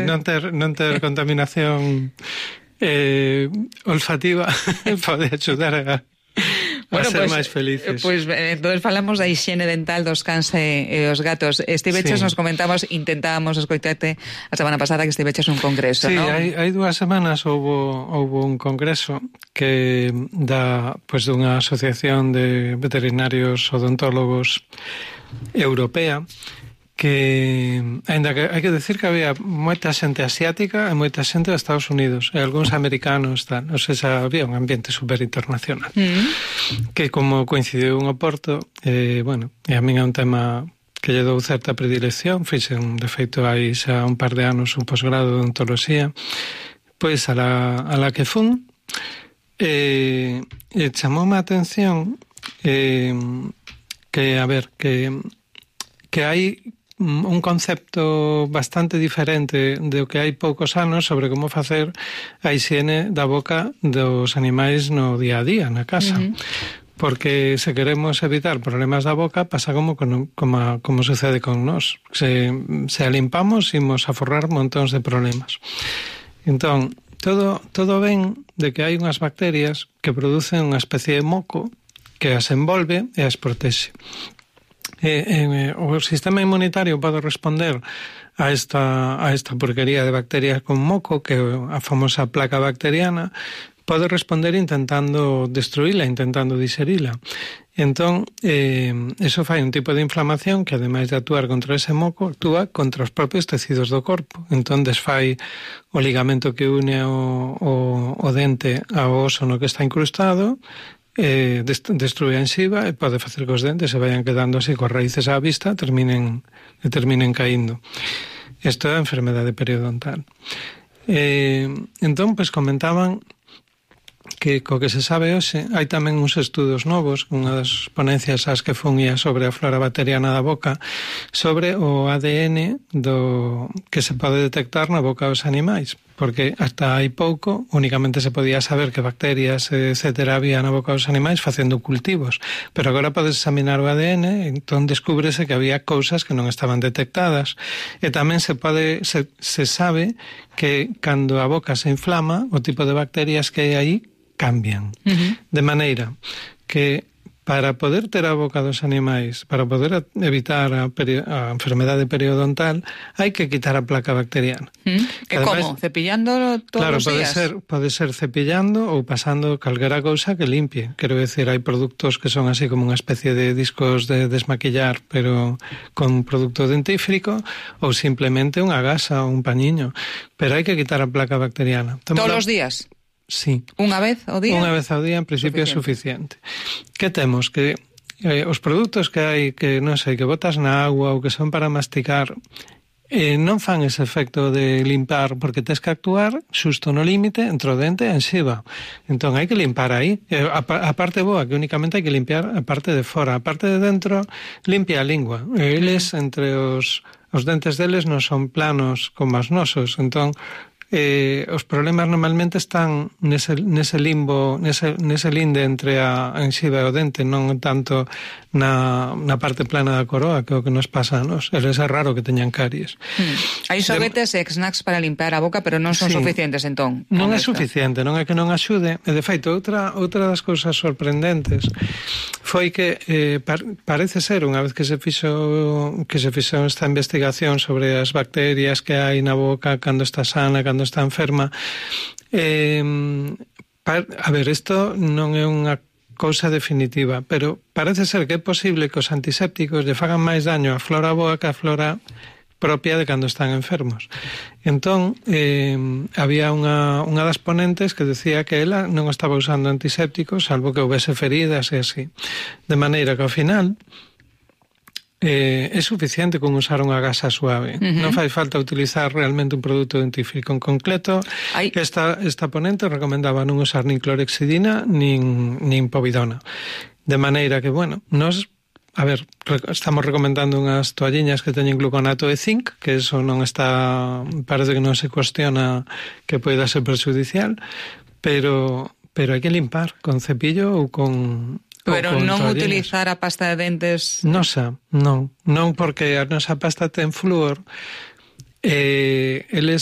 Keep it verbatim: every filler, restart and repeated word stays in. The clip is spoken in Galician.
non ter, non ter contaminación eh, olfativa pode axudar a, a bueno, ser pues, máis felices. Pois pues, entón falamos da hixiene dental dos cans e, e os gatos. Estiveches, sí. Nos comentamos, intentábamos escoitarte a semana pasada que estiveches un congreso, sí, ¿no? hai, hai dúas semanas houbo, houbo un congreso que da, pues, dunha asociación de veterinarios odontólogos europea, que, ainda que hai que decir que había moita xente asiática e moita xente de Estados Unidos e algúns americanos, tal. O sea, había un ambiente super internacional. Mm. Que como coincidiu en Oporto, eh, bueno, e a min é un tema que lle dou certa predilección, fixen, de feito, hai xa un par de anos un posgrado de odontoloxía, pois a la, a la que fun, eh, e chamoume a atención eh, que, a ver, que, que hai un concepto bastante diferente do que hai poucos anos sobre como facer a higiene da boca dos animais no día a día, na casa. Uh-huh. Porque se queremos evitar problemas da boca, pasa como, como, como sucede con nós. Se, se a limpamos, imos a forrar montóns de problemas. Entón, todo, todo ven de que hai unhas bacterias que producen unha especie de moco que as envolve e as protexe. Eh, eh, o sistema inmunitario pode responder a esta, a esta porquería de bacterias con moco, que é a famosa placa bacteriana, pode responder intentando destruíla, intentando diserila. Entón, eh, eso fai un tipo de inflamación que, ademais de actuar contra ese moco, actúa contra os propios tecidos do corpo. Entón, desfai o ligamento que une o, o, o dente ao oso no que está incrustado, eh, destrue a enxiva e pode facer que os dentes se vayan quedando así coas raíces á vista terminen, e terminen caíndo. Isto é a enfermedade periodontal. Eh, entón, pois comentaban que co que se sabe hoxe hai tamén uns estudos novos, unha das ponencias ás que fun ia sobre a flora bacteriana da boca, sobre o A D N do que se pode detectar na boca dos animais, porque hasta hai pouco únicamente se podía saber que bacterias, etcétera, había na boca dos animais facendo cultivos, pero agora podes examinar o A D N, entón descúbrese que había cousas que non estaban detectadas, e tamén se pode se, se sabe que cando a boca se inflama, o tipo de bacterias que hai aí cambian. Uh-huh. De maneira que para poder ter a boca dos animais, para poder evitar a, peri- a enfermedade periodontal, hai que quitar a placa bacteriana. Uh-huh. E como? Cepillando todos claro, os pode días? Ser, pode ser cepillando ou pasando calquera cousa que limpie. Quero decir, hai produtos que son así como unha especie de discos de desmaquillar, pero con producto dentífrico, ou simplemente unha gasa ou un pañiño. Pero hai que quitar a placa bacteriana. Todos os días? Sí. Unha vez ao día? Unha vez ao día, en principio, suficiente. É suficiente. Que temos? Que eh, os produtos que hai, que non sei, que botas na agua ou que son para masticar, eh, non fan ese efecto de limpar, porque tes que actuar xusto no límite entre o dente e a enxiva. Entón, hai que limpar aí. Eh, a, a parte boa, que únicamente hai que limpiar a parte de fora. A parte de dentro, limpia a lingua. E eles, entre os, os dentes deles, non son planos como os nosos. Entón, Eh, os problemas normalmente están nese, nese limbo, nese, nese linde entre a enxiva e o dente, non tanto na, na parte plana da coroa, que é o que nos pasa a nos. Eles é raro que teñan caries. Hmm. Hai xoguetes e snacks para limpiar a boca, pero non son sí. suficientes, entón. Non é esto. suficiente, non é que non axude. E, de feito, outra, outra das cousas sorprendentes foi que eh, par, parece ser, unha vez que se fixo que se fixo esta investigación sobre as bacterias que hai na boca cando está sana, cando está enferma, eh, par, a ver, isto non é unha cousa definitiva, pero parece ser que é posible que os antisépticos lle fagan máis daño á flora boa que á flora propia de cando están enfermos. Entón, eh, había unha, unha das ponentes que decía que ela non estaba usando antisépticos, salvo que houvese feridas e así. De maneira que ao final Eh, é suficiente con usar unha gasa suave. Uh-huh. Non fai falta utilizar realmente un produto dentífrico. En concreto, Ay. esta, esta ponente recomendaba non usar nin clorexidina nin, nin povidona. De maneira que, bueno, nos, a ver, estamos recomendando unhas toalliñas que teñen gluconato e zinc, que eso non está, parece que non se cuestiona que poida ser perjudicial, pero, pero hai que limpar con cepillo ou con... Pero non utilizar a pasta de dentes... Nosa, non. Non, porque a nosa pasta ten flúor. Eh, eles